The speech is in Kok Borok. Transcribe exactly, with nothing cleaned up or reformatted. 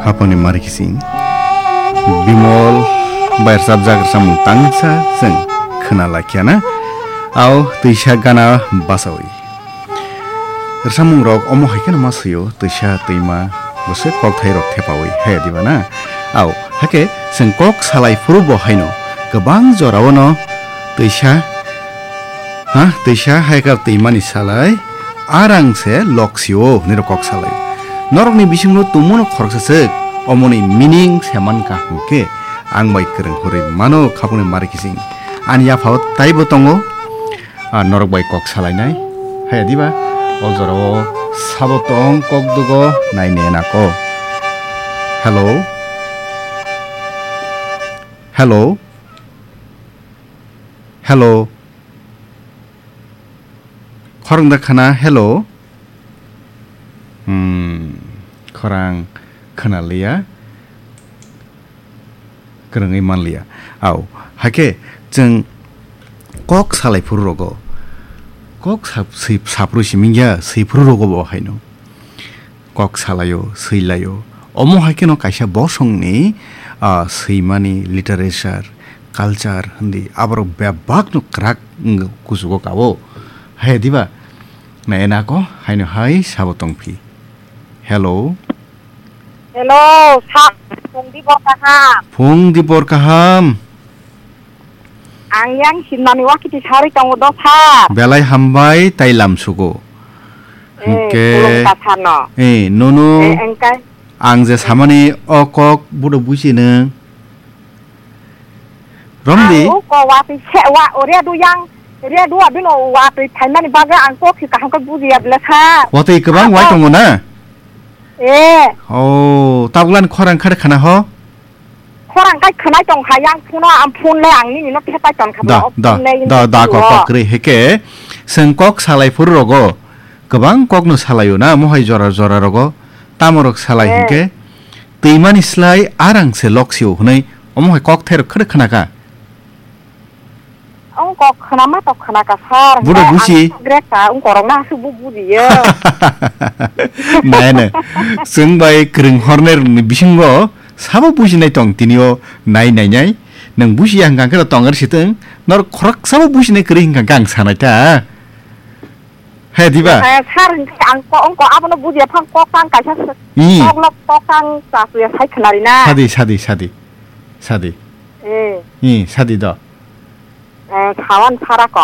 Apangni mari kising Bimol bai rwchapjak rwchapmung tangsa chwng khwna laikha na. Au twisa gana basawi. Rwchapmung rok omo hai kheno ma swio, twisa twima bwswk kokthai rok thepawi, haya diba na? Au, hakhe chwng kok salai phuru bo haino kwbang jorao no twisa, ha, twisa hai kar twimani salai arang se lok sio hwnwi rok kok salai. Norokni bisingo tongmano khoroksa swk, omoni meaning se man ka hwnkhe ang bai kwrwng hwnwi mano khapungni mari kising. Ani yaphao taibo tongo, a norok bai kok salainai. Haya diba? O jorao sabo tong kok dugo nai ne nako. Hello? Hello? Hello? Khorang da khana, hello? Hmm, khorang khana liya. Kwrwngwi manliya. Au, hakhe chwng kok salai phuru rogo, kok sap-, swi-, saphuru simi ya, swi phuru rogo bo haino. Kok salaio, swilaio. Omo hai kheno kaisa bosongni, ah, swimani literature, culture hindi aborok bebakno kwrak wng kuchugo kao. Hai diba? Na enako haino hai sabo tongphi. Hello. Hello, sir. Phung di bor kaham. Phung di bor kaham. Ang yang simnani wakiti sarwi tongo do, sir. Belai hambai tai lam sugo. Eh, hwnkhe, khulumkha sir no. Eh, nono, eh, engkai, ang je samani o kok budo buji nung. Romdi? Ang o kok watwi se wa, o redu yang, redu abino watwi phaimani bagwi ang kok si kaham khe bujiya bwle sir. Watwi kwbang wai tongo na? Eh. Oh, tabuklan khorang khare khana ho? Khorang kai khwnai tong kha yang phone o, ang phone le ang nini no thepai ton kha da, da, phone le da, da, kok, kok kwrwi heke. Seng kok salai phuru rogo. Kwbang kok no salaio na, mohai jora jora rogo. Tamo rok salai eh, hingke. Twimani slai arang se lok sio hwnwi omo hai kok thairok khwrwk khna kha. Ong kok khna ma tok khna kha sir. Budo hwnkhe busi. Ang grek ta ong korok na aswk bu buji yo. Nai nai. Chwng bai kwrwng hornai rokni bisingo sabo bujinai tong tini o nai nai nai. Nwng busi ya hwnkha khe tong ar sitwng. Nor khorok sabo bujinai kwrwi hwnkha khe ang sanai ta. He, diba? Eh, sir, hwnkhe ang ko-, ang ko-, abono bujiya phang kok tang kaisa se-, hmm, kok lok kok tang chasuya sai khwnari na. Sadi, sadi, sadi. Sadi. Eh. Hmm, sadi do. Eh, sawan sara ko.